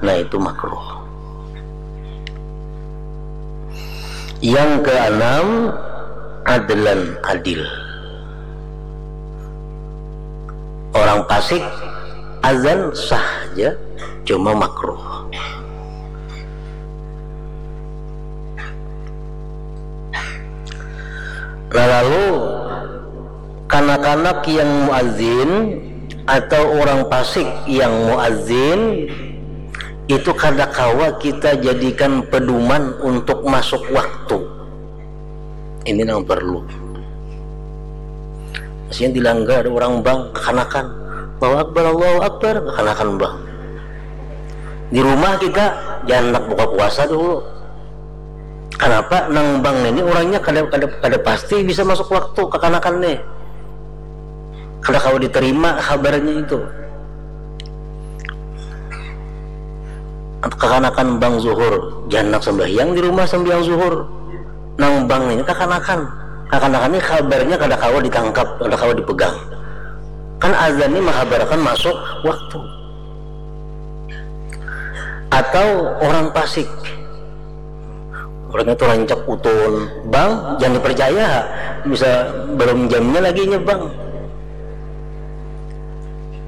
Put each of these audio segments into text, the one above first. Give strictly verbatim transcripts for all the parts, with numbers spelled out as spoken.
Nah, itu makruh. Yang keenam, adlan, adil. Orang fasik azan sah aja, cuma makruh. Nah, lalu kanak-kanak yang muazin atau orang fasik yang muazin itu kada kawa kita jadikan pedoman untuk masuk waktu. Ini yang perlu. Maksudnya, dilanggar ada orang bang, kakanakan, "Allahu Akbar, Allahu Akbar," kakanakan bang. Di rumah kita, jangan handak buka puasa dulu. Kanapa? Nang bang ini orangnya kada, kada, kada pasti bisa masuk waktu, kakanakan nih. Kada kawa diterima kabarnya itu. Kakanakan bang zuhur, jangan handak sambahyang di rumah sambahyang zuhur. Nang bang ini kakanakan. Kakanakan ini kabarnya kada kawa ditangkap, kada kawa dipegang. Kan azan ini menghabarkan masuk waktu. Atau orang fasik. Orangnya tuh rancak utun. Bang, jangan dipercaya. Bisa belum jamnya lagi nya, bang.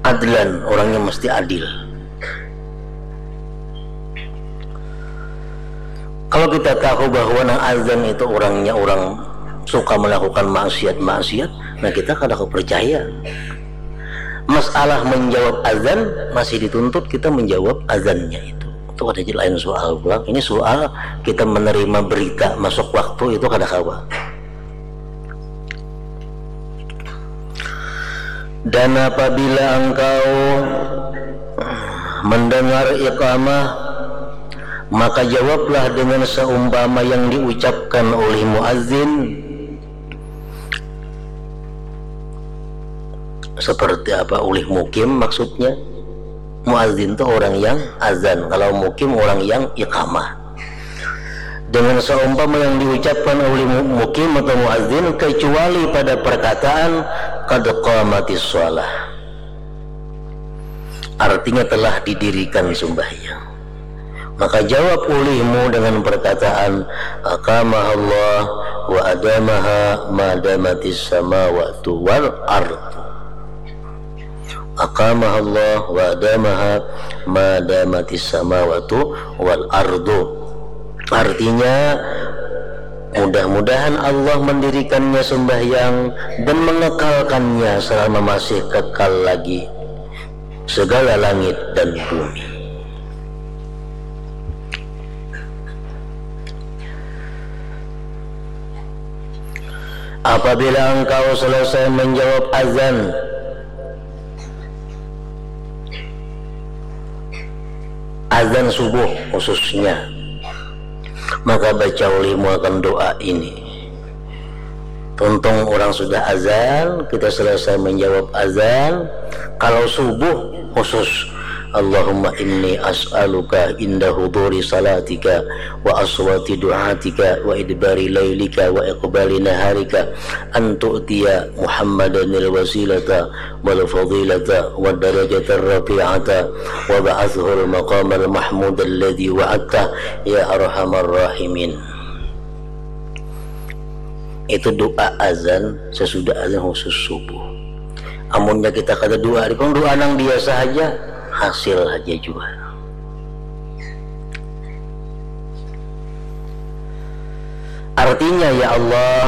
Adlan, orangnya mesti adil. Kalau kita tahu bahwa nang azan itu orangnya orang suka melakukan maksiat-maksiat, nah, kita kada kepercaya. Masalah menjawab azan masih dituntut kita menjawab azannya itu. Itu ada lain soal pulang. Ini soal kita menerima berita masuk waktu itu kada kawa. Dan apabila engkau mendengar iqamah, maka jawablah dengan seumpama yang diucapkan oleh muazin. Seperti apa? Oleh mukim maksudnya. Muazin itu orang yang azan, kalau mukim orang yang iqamah. Dengan seumpama yang diucapkan oleh mu-, mukim atau muazin, kecuali pada perkataan, "Qad qamatis shalah." Artinya, telah didirikan sembahyang. Maka jawab olehmu dengan perkataan, "Aqamahallah wa adamaha ma damatis samawatu wal ardu." Aqamahallah wa adamaha ma damatis samawatu wal ardu. Artinya, mudah-mudahan Allah mendirikannya sembahyang dan mengekalkannya selama masih kekal lagi segala langit dan bumi. Apabila engkau selesai menjawab azan, azan subuh khususnya, maka baca olehmu akan doa ini. Tuntung orang sudah azan, kita selesai menjawab azan. Kalau subuh khusus, "Allahumma inni as'aluka inda huduri salatika wa aswati du'atika wa idbari lailika wa iqbali naharika an tu'tiya Muhammadanil wasilata wal fadilata wa darajatar rafi'ata wa ba'athul maqamal mahmudal ladzi wa'adta ya arhamar rahimin." Itu doa azan sesudah azan khusus subuh. Amunnya kita kada doa, doa nang biasa aja, hasil aja juga. Artinya, ya Allah,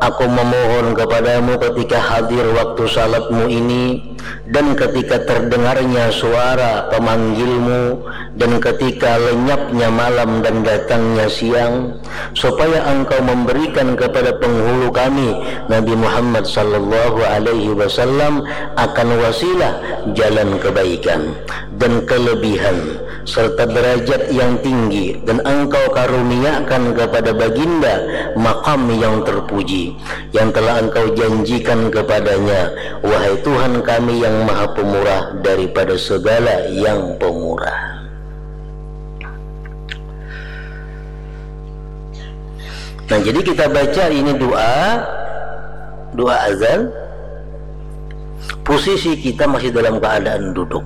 aku memohon kepadamu ketika hadir waktu salatmu ini, dan ketika terdengarnya suara pemanggilmu, dan ketika lenyapnya malam dan datangnya siang, supaya engkau memberikan kepada penghulu kami, Nabi Muhammad sallallahu alaihi wasallam, akan wasilah jalan kebaikan dan kelebihan serta derajat yang tinggi, dan engkau karuniakan kepada baginda maqam yang terpuji yang telah engkau janjikan kepadanya, wahai Tuhan kami yang maha pemurah daripada segala yang pemurah. Nah, jadi kita baca ini doa, doa azan, posisi kita masih dalam keadaan duduk.